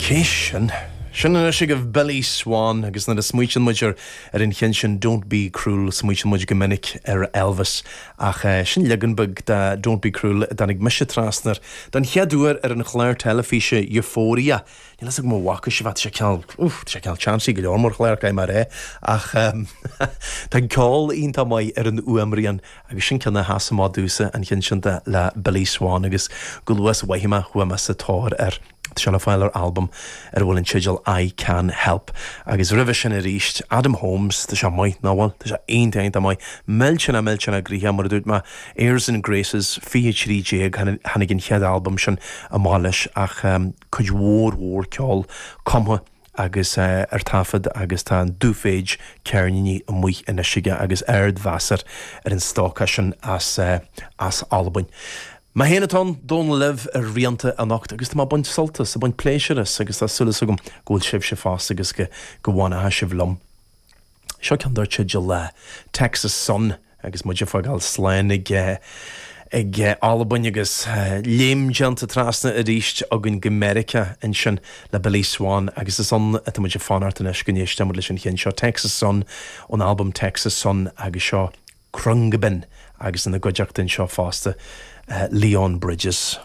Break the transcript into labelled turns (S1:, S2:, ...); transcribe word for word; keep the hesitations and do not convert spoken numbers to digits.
S1: Cé sin? Sin anois agaibh Billy Swan agus nuair a smaoiníonn muid ar ar an cheann sin Don't Be Cruel smaoiníonn muid go minic ar Elvis ach uh, sin leagan beag de Don't Be Cruel a dtáinig mise trasna air don chéad uair ar an chlár teilifíse Euphoria. Níl a fhios agam an bhfaca sibh sé cineál sé cineál chancy go leor mar chlár cé mar é ach um, tá ceol iontach maith ar an fhuaimrian agus sin ceann a sheas amach domhsa an ceann sin de le Billy Swan agus go luath sa mhaith chuaigh mé sa tóir air. Tá sé le fáil ar albam ar a bhfuil an teideal I Can Help. Agus roimhe sin arís Adam Holmes tá sé maith ná bhfuil Tá sé iontach maith millteanach millteanach gnoitheach mar a dúirt mé Airs and Graces fiche trí déag tháinig an chéad albam sin amach leis ach um, cuid mhór mhór ceol cumtha agus uh, ar taifead agus tá an dúphéid ceirníní amuigh anois aige agus ardmheas ar an stóca sin as, uh, as Albain. Mé féin atá Dónal libh ar Rianta anocht agus tá baint sult as baint pléisiúr as agus tá súil agam go bhfuil sibhse fosta agus go go bhfanfaidh sibh liom. Seo ceann dar teideal le Texas Sun agus muid ag fágáil slán ag ag Albain agus léim déanta trasna arís againn go Meiriceá ansin le Billy Swan agus is ann atá muid ag fanacht anois go n-éistfidh muid leis an cheann seo Texas Sun ón album Texas Sun agus seo Khruangbin agus ina gcuideachta anseo fosta uh, Leon Bridges.